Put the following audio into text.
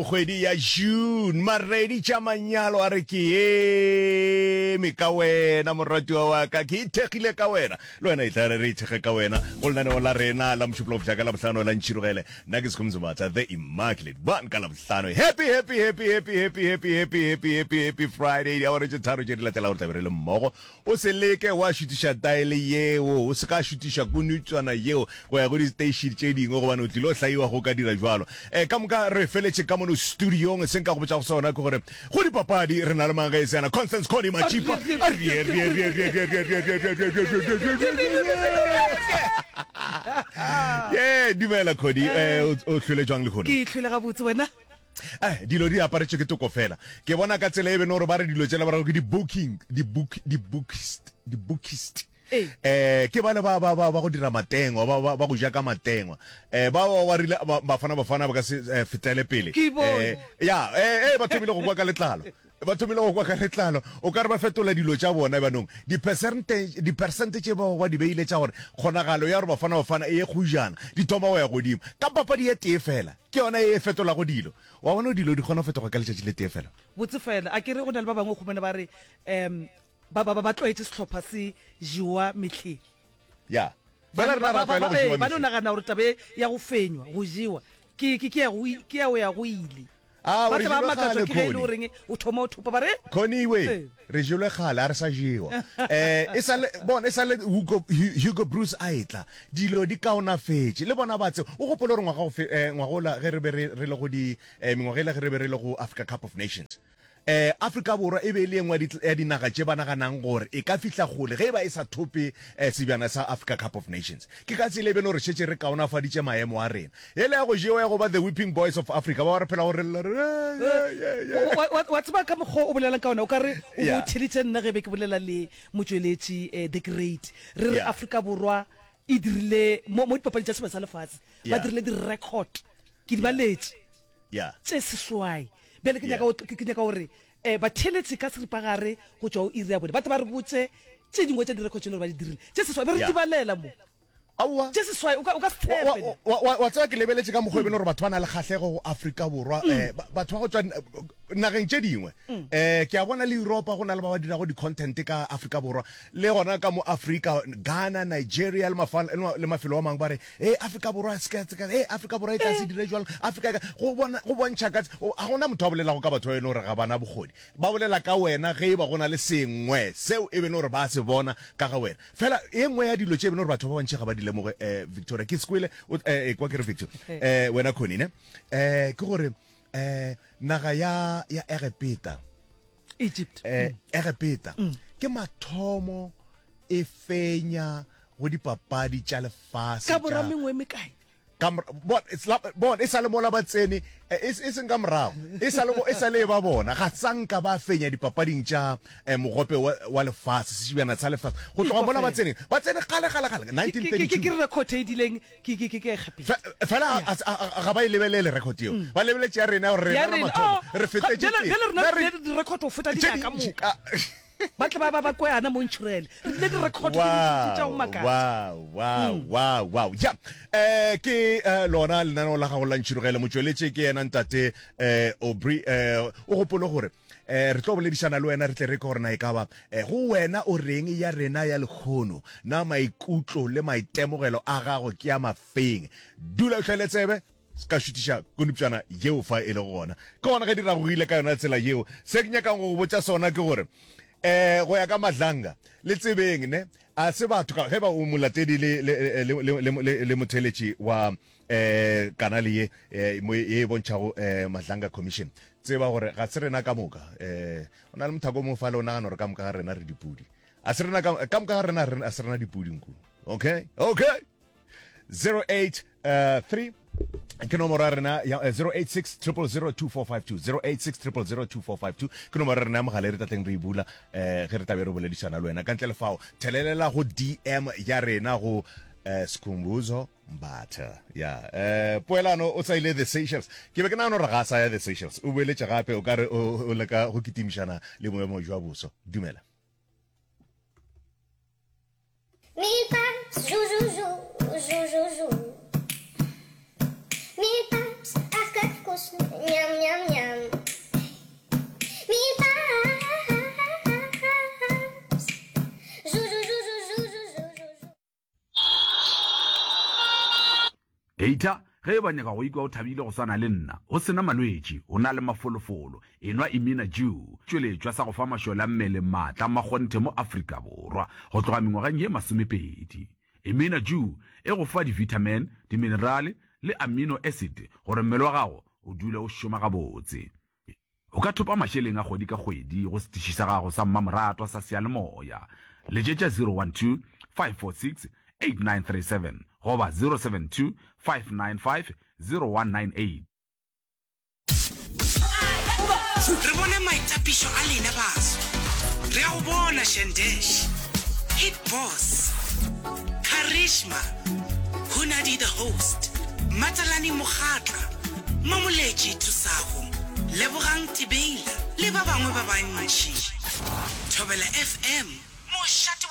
kgwedi ya June, maredi tša manyalo a re ke eme ka wena moratiwa wa ka, ke ithekgile ka wena. Le wena e tla re re ithekge ka wena go lenaneo la rena la Mošupologo fihla ka Labohlano la Ntšhirogele. Nna ke Sekhumzi Mbatha, The Immaculate One ka Labohlano. Happy, happy, happy, happy, happy, happy, happy, happy, happy, happy Friday. Diawara tše tharo tše di latelago re tla be re le mmogo. O se leke wa šutiša taele yeo, o se ka šutiša konutswana yeo go ya go diteiši tše dingwe, gobane o tlilo hlaiwa go ka dira bjalo. E, ka moka re feletše ka mono studiong. Se nka go botšago sona ke gore go dipapadi re na le mang ge e se yena Constance Connie Matšipa. Ye, dumela Connie, eh, o hlwele jwang lehono? Ke hlwele gabotse, wena? Eh, dilo di aparetšwe ke toko fela. Ke bona ka tsela e beno gore ba re dilo tšela ba re ke di-booking, di-book, di-bookist, di-bookist. Ee. Eh, ke bale ba, ba, ba, ba go dira matengwa, ba, ba, ba go ja ka matengwa. Eh, ba, ba, ba rile, ba, Bafana Bafana ba ka se eh, fetele pele. Ke bone. Eh, ya, eh, eh, ba thomile go kwa ka letlalo. Ba thomile go kwa ka letlalo. O ka re ba fetola dilo tša bona bjanong. Dipersente, dipersente tše ba ba di beile tša gore kgonagalo ya gore Bafana Bafana e ye kgojana, di thoma go ya godimo. Ka papadi ye tee fela. Ke yona ye e fetolago dilo. Wa bona dilo di kgona go fetoga ka letšatši le tee fela. Botse fela. A ke re go na le ba bangwe o humana ba re um ba, ba, ba, ba tlwaetše sehlopha se jewa mehleng. Ya. Fela rena ra tlwaela go jewa Ba no mehleng. nagana gore taba e ya go fenywa, go jewa, ke, ke, ke ya go, ke ya go ya go ile. Aowa, Ba re tla ba jelwe makatswa kgale, ke ge e le Connie. goreng o thoma o thopa ba re, Connie we, Ee. re jelwe kgale, a re sa jewa. Eh, e sa le, bona, e sa le Hugo, Hugo Broos a etla, dilo di kaonafetše. Le bona ba tseba. O gopole gore ngwaga go fe, eh, ngwagola ge re be re, re le go di, eh, mengwaga ela ge re be re le go Africa Cup of Nations. Eh, Afrika Borwa e be e le ye nngwe ya di, ya dinaga tše ba naganang gore e ka fihla kgole ge e ba e sa thope eh, sebjana sa Africa Cup of Nations. Ke ka tsela e beno re šetše re kaonafaditše maemo a rena. Yela ya go jewa ya go ba the whipping boys of Africa, ba ba re phelago re lla re re, ye, ye, ye. Wa, wa, wa tseba ka mokgwa o bolelang ka ona, o ka re o be o Yeah. theeditše nna ge be ke bolela le motšweletši eh, The Great. Re re Yeah. Afrika Borwa e dirile, mo, mo dipapading tša Sebjana sa Lefase, ba Yeah. dirile di-record. Ke di Yeah. baletše. Yeah. Tše seswai. Bjale ke Yeah. nyaka go, ke nyaka gore eh, batheeletši ka seripagare go tšwa go iri ya bone ba tle ba re botše tše dingwe tša direkho tše le gore ba di dirile. Tše seswai, be re Yeah. di balela mo. Aowa. Tše seswai, o ka, o ka se Wa, tshepe. wa, wa, wa, wa tseba ke lebeletše ka mokgwa e bene gore batho ba na le kgahlego go Afrika Borwa, eh, ba- batho ba go tšwa nageng tše dingwe. Eh, ke a bona le Europa go na le ba ba dirago di-content ka Afrika Borwa, le gona ka mo Afrika, Ghana, Nigeria le mafa, le mafelo a mangwe ba re, Hey, Afrika Borwa se ka, se ka, hey, Afrika Borwa e tla se dire jwalo, Afrika e ka, go bona, go bontšha ka, ga gona motho a bolelago ka batho ba e le gore ga ba na bokgoni. Ba bolela ka wena ge e ba go na le sengwe seo e be le gore ba se bona ka ga wena. Fela ye nngwe ya dilo tše e be le gore batho ba bantši ga ba di lemoge, eh, Victoria, ke se kwele, o, eh, ekwa ke re Victor, eh, wena Connie, ne? Eh, ke gore, eh, naga ya, ya Egepeta, Egypt. eh, Egepeta, ke mathomo e fenya go dipapadi tša lefase Ka bora tša, mengwe e mekae? Ka mora, bon, it's la, bon, e sa le mola ba tsene, eh, e, e seng ka morago, e sa le, e sa le ba bona, ga sa nka ba fenya dipapading tša eh, mogope wa, wa lefase, sešibjana sa lefase. Go tloga mola ba tsene, ba tsene kgale, kgale, kgale, Ke, ke, ke, ke 1932. record e dileng ke, ke, ke, ke Egepeta. Fe, fela a, a, a, ga ba e lebelele record yeo. Ba lebeletše ya rena, gore Ya rena la rena, mathomo, oh, re ga, fetetše bjale, pele. bjale rena Na re re, dirile di-record go feta tše dinaga ka dintši, moka. ah, Ba tle ba ba ba kweana mo ntšhurele. Re dirile di-record tše dintši tša go Wow, makatša. wow, wow, wow, wow. Ja, eh, ke eh, lona lenaneo la gago la Ntšhirogele. Motšweletši ke yena ntate eh, Aubrey. Eh, o gopole gore eh, re tlo boledišana le wena re tle re ke gore na e ka ba eh, go wena o reng ya rena ya lekgono. Na maikutlo le maitemogelo a gago ke a mafeng? Dula o hlwele tsebe. Se ka šutiša konupšana yeo fa e lego gona. Ke gona ge di ragogile ka yona tsela yeo. Se ke nyakang go go botša sona ke gore, um go ya ka Madlanga, le tsebeng ne, a se batho ka, ge ba o molatedi le, le, le, le, le, le, le motheeletši wa um kanale ye, eh, mo ye e bontšhago um Madlanga Commission, tseba gore ga se rena ka moka. Um o na le mothako o mongwe fale o nagana gore ka moka ga rena re dipudi. A se rena ka, ka moka ga rena, a se rena dipudi nku. Okay? Okay! 083 ke nomoro ya rena ya 086 000 2452 086 000 2452 ke nomoro ya rena ya mogala e re tlatleng re e bula um ge re tlabe re boledišana le wena ka ntle le fao thelelela go dm ya rena go um Skhumbuzo Mbatha ya um poelano o sa ile the Seychelles ke be ke nagana gore ga a sa ya the Seychelles o boeletše gape o ka re o leka go kitimišana le boemo jwa boso dumela Peter, ge e ba nyaka go ikwa o thabile go swana le nna, o se na malwetši, o na le mafolofolo, enwa Imina Dew, tšweletšwa sa go fa mašole a mmele maatla a makgonthe mo Afrika Borwa go tloga mengwageng ye masomepedi. Imina Dew e go fa di-vitamin, diminerale le amino acid gore mmele wa gago o dule o šoma gabotse. O ka thopa mašeleng a kgwedi ka kgwedi go setiši sa gago sa mmamoratwa sa seyalemoya. Letšetša 012 546 8937 goba 072 595 0198. Re bone maitapišo a lena baso. Re a go bona Shandesh, Hit Boss, Karishma, Hunadi the Host, Matalani Mokgatla, Mamoletši Thusago, Lebogang Tibeila le ba bangwe ba bantši. Thobela FM, mošate.